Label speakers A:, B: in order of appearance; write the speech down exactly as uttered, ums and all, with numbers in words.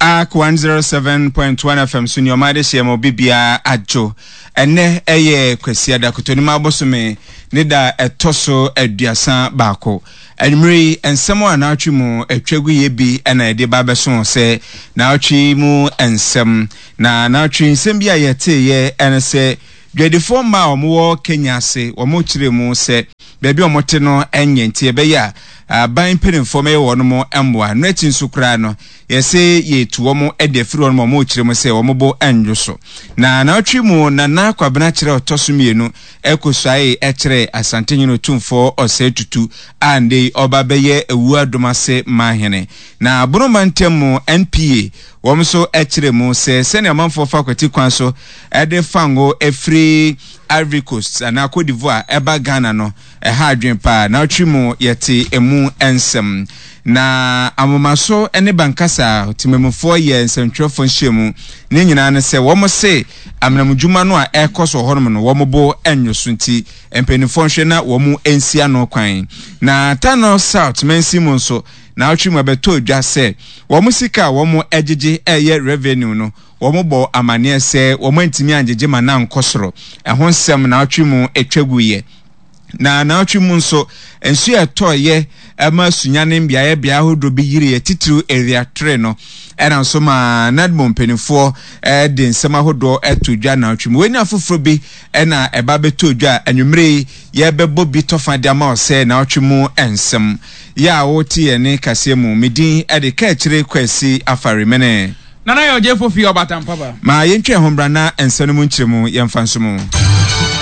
A: Ark one zero seven point one F M so nneɛma de hyɛ ma obi biara adwo. Ɛnɛ ɛyɛ Kwasiada Kotonim abosome ne da ɛtɔ so aduasa baako. Anwummere yi nsɛm a naawɔtwe mu atwa gu yɛ bi na yɛde ba abɛso sɛ naawɔtwe mu nsɛm. Na naawɔtwe nsɛm bi a yɛteeɛ ɛne sɛ dwadifoɔ mmaa a wɔwɔ Kenya ase wɔn kyerɛ mu sɛ baabi a wɔte no nyɛ nti ɛbɛyɛ a aban mpanimfoɔ mɛyɛ wɔn mo mmoa. No akyi nso koraa no yɛsɛ yɛtu wɔn de afiri wɔn a wɔn kyerɛ mu sɛ wɔn bo nnwo so. Na naawɔtwe mu Nana Kwabena kyerɛ ɔtɔ so mmienu ɛkɔsuae ɛkyerɛ Asantehene Otumfoɔ Ɔsɛe Tutu a nde ɔba bɛyɛ ewu adom ase mahene. Na Boroma ntam mu N P A wɔn nso ɛkyerɛ mu sɛ sɛnea amanfoɔ fa kwati kwan so ɛde fango efiri Ivory Coast anaa Cote d'Ivoire ɛba Ghana no ɛha adwene paa. Naawɔtwe mu yɛte emu nsɛm. Na amomaso ne bankasa temamufoɔ yɛ nsɛntwerɛfoɔ nhyiamu. Ne nyinaa ne sɛ wɔn se amenamdwuma no a ɛrekɔ so wɔ hɔnom no wɔn bo nnwo so nti mpanimfoɔ nhwɛ na wɔn nsi ano kwan. Na Tano South mansin mu nso naawɔtwe mu abɛtɔ dwa sɛ wɔn sika a wɔn agyegye ɛyɛ revenue no wɔn bɔ amanneɛ sɛ wɔn antumi angyegye ma na nkɔ soro. Ɛho nsɛm naawɔtwe mu atwa gu yɛ. Na naawɔtwe mu nso nsuo a ɛtɔɔyɛ ɛma Sunyani mbeaeɛ bea ahodoɔ bi yiri yɛ titiriw area three no ɛna nso ma NADMO mpanimfoɔ ɛde nsɛm ahodoɔ ɛto dwa naawɔtwe mu. Wei ne afoforɔ bi ɛna ɛba bɛtɔ dwa anwummerɛ yi yɛbɛbɔ bi tɔfa de ama ɔsɛ naawɔtwe mu nsɛm. Yɛ a wote yɛn ne kaseɛ mu medin ɛde kɛkyerɛ Kwasi Afarimene.
B: Nana yɛ ɔgye fofi ɔbatan papa.
A: Ma yɛntwa ho mbra na nsɛm no mu nkyerɛ mu yɛmfa nso mu.